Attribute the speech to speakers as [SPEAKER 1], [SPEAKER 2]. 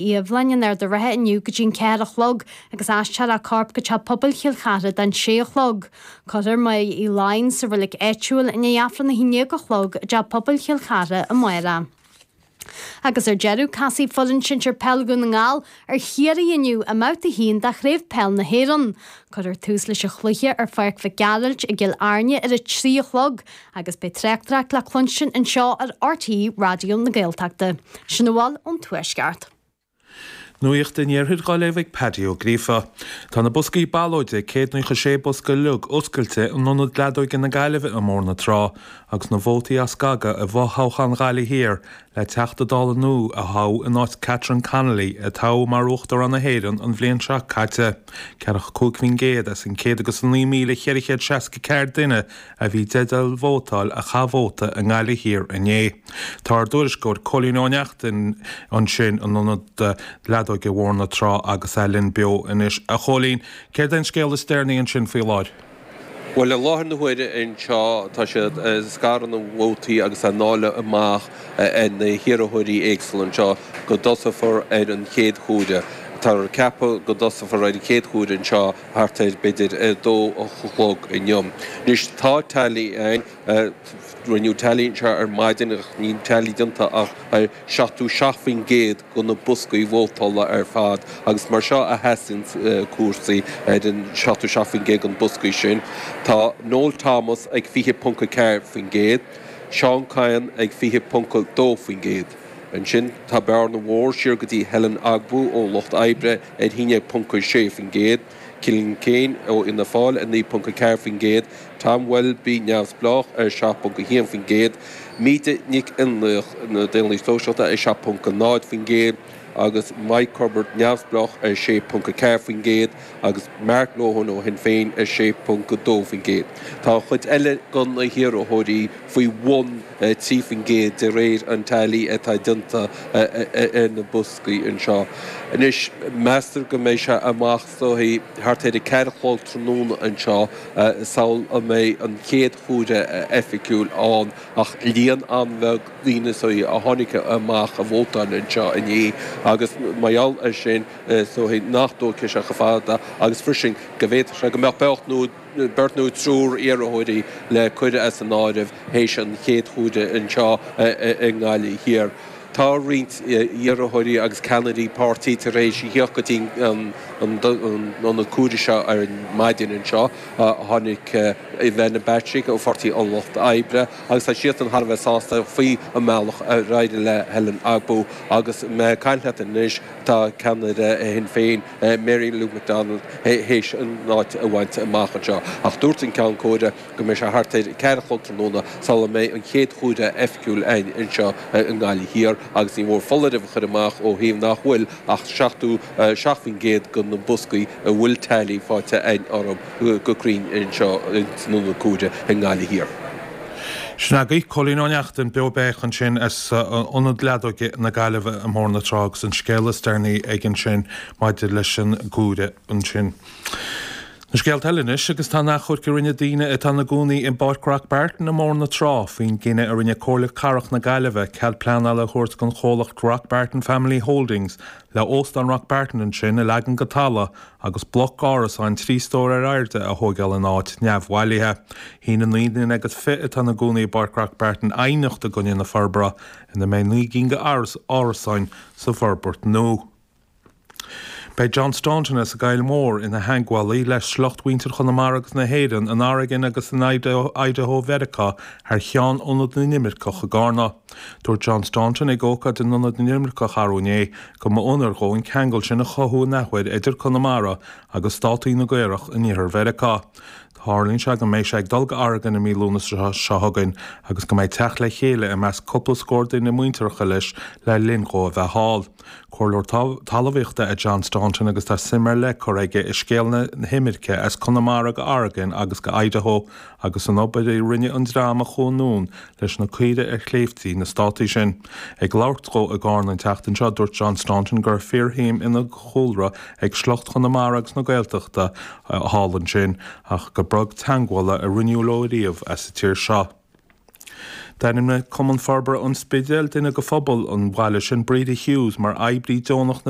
[SPEAKER 1] Fhiabhláin in Ard a' Rátha inniu go dtí an 4 a chlog agus aistreofar a corp go Teach Pobail Chill Chartha don 6 a chlog. Cuirfear Máire Uí Laighin sa reilig áitiúil i ndiaidh Aifreann 11 a chlog i dTeach Pobail Chill Chartha amárach. Agus ar deireadh, casfaidh foireann sinsir peil Dhún na nGall ar Chiarraí inniu i mBabhta 1 de Chraobh Peil na hÉireann. Cuirfear tús leis an chluiche ar Pháirc Mhic Gearailt i gCill Airne ar a 3 a chlog agus beidh tráchtaireacht le cluinstin anseo ar RTÉ Raidió na Gaeltachta. Sin a bhfuil ón Tuaisceart.
[SPEAKER 2] Nuacht an Iarthair dhá léamh ag Paddy Ó Gríofa. Tá na boscaí ballóide, 196 bosca uilig, oscailte in Ionad Leadóige na Gaillimhe i mBóthar na Trá agus na vótaí á scagadh i bhfo-thoghchán Ghaillimh Thiar le Teachta Dála nua a thoghadh in áit Catherine Connolly a toghadh mar Uachtarán na hÉireann an bhliain seo caite. 45% as an 109,464 duine a bhí i dteideal vótáil a chaith vóta i nGaillimh Thiar inné. Tá ár dtuairisceoir Cóilín Ó Neachtain ansin in ionad leadóige Bhóthar na Trá agus é linn beo anois. A Chóilín, céard é an scéal is deireanaí ansin faoi láthair?
[SPEAKER 3] Bhuel, i láthair na huaire anseo tá siad ag scaradh na vótaí agus á ndáileadh amach ar na hiarrthóirí éagsúla anseo go dtosófar ar an chéad chomhaireamh. Táthar ag ceapadh go dtosófar ar an chéad chomhaireamh anseo thart ar, b'fhéidir, a dó a chlog inniu. Anois, tá tally ann, rinneadh tally anseo ar maidin ach níl tally déanta ach ar 77% de na boscaí vótála ar fad agus mar seo a sheasann cúrsaí ar an 77% de na boscaí sin. Tá Noel Thomas ag 20.4%, Seán Kyne ag 20.2%. Ansin tá bearna mhór siar go dtí Helen Ogbu ó Lucht Oibre ar 11.6%, Cillian Keane ó Fhianna Fáil 9.4%, Tom Welby, Neamhspleách, ar 7.1%, Míde Nic Fhionnlaoich, na Daonlathaigh Sóisialta, ar 7.0% agus Mike Corbett, Neamhspleách, ar 6.4% agus Mark Lohan ó Shinn Féin ar 6.2%. Tá an chuid eile de na hiarrthóirí faoi bhun 3% de réir an tally atá déanta ar na boscaí anseo. Anois, meastar go mbeidh sé amach is dóichí thart ar a 4 a chlog tráthnóna anseo sul a mbeidh an chéad chomhaireamh oifigiúil ann ach líon an-bheag daoine is dóichí a tháinig amach a vótáil anseo inné agus mar gheall air sin is dóichí nach dtógfaidh sé chomh fada agus freisin go bhféadfadh sé go mbeadh beirt nó beirt nó triúr iarrthóirí le cur as an áireamh théis an chéad chomhaireamh anseo i nGaillimh Thiar. Tá roinnt iarrthóirí agus ceannairí páirtí tar éis a thíocht go dtí an ionad comhairimh seo ar maidin anseo. Tháinig Ivana Bacik ó Pháirtí an Lucht Oibre agus tá siadsan thar a bheith sásta faoi an mbealach ar éirigh le Helen Ogbu agus mé ag caint leat anois tá ceannaire Shinn Féin Mary Lou McDonald théis an áit a bhaint amach anseo. Ach dúirt an ceann comhairimh go mbeidh sé thart ar 4 a chlog tráthnóna sula mbeidh an chéad chomhaireamh oifigiúil ann anseo i nGaillimh Thiar agus ní mór foláireamh a chur amach ó thaobh nach bhfuil ach 77% de na boscaí a bhfuil tally faighte againn orthu go cruinn anseo san ionad comhairimh i nGaillimh Thiar.
[SPEAKER 2] Sin agaibh Cóilín Ó Neachtain, beo béiceach ansin as Ionad Leadóige na Gaillimhe i mBóthar na Trá agus an scéal is deireanaí aige ansin maidir leis an gcomhaireamh ansin. Na scéalta eile anois agus tá an achomharc a rinne daoine atá ina gcónaí i bPáirc Rock Barton i mBóthar na Trá faoin gcinneadh a rinne Comhairle Cathrach na Gaillimhe cead pleanála a thabhairt don chomhlacht Rock Barton Family Holdings le Óstán Rock Barton ansin a leagan go talamh agus bloc árasáin 3 stór ar airde a thóigeáil ina áit neamhbhailithe. Shínigh 19 nduine atá ina gcónaí i bPáirc Rock Barton aighneacht i gcoinne na forbartha ina mbeidh 9 gcinn de árasáin sa bhforbairt nua. Beidh John Staunton as an gCoill Mhór ina theagmhálaí le sliocht mhuintir Chonamara agus na hÉireann in Oregon agus in Idaho Mheiriceá thar cheann Ionad na nImirceach i gCarna. Dúirt John Staunton ag ócáid in Ionad na nImirceach arú inné go mba onóir dhó an ceangal sin a chothú an athuair idir Conamara agus státaí na gCaorach in iarthar Mheiriceá. Tarlaíonn sé go mbeidh sé ag dul go Oregon i mí Lúnasa seo chugainn agus go mbeidh teacht le chéile i measc cúpla scór duine muinteartha leis le linn dhó a bheith thall. Comhairleoir talmhaíochta é John Staunton agus tá suim ar leith curtha aige i scéal na himirce as Conamara go Oregon agus go Idaho agus san obair a rinne an dream a chuaigh anonn leis na caoirigh ar shléibhtí na státaí sin. Ag labhairt dhó i gCarna an tseachtain seo, dúirt John Staunton go raibh fíorshuim ina chúlra ag sliocht Chonamara agus na Gaeltachta thall ansin ach gur beag teagmhála a rinneadh leo riamh as an tír seo. D'ainmnigh Cumann Forbartha an Spidéil duine de phobal an bhaile sin, Breda Hughes, mar oibrí deonach na.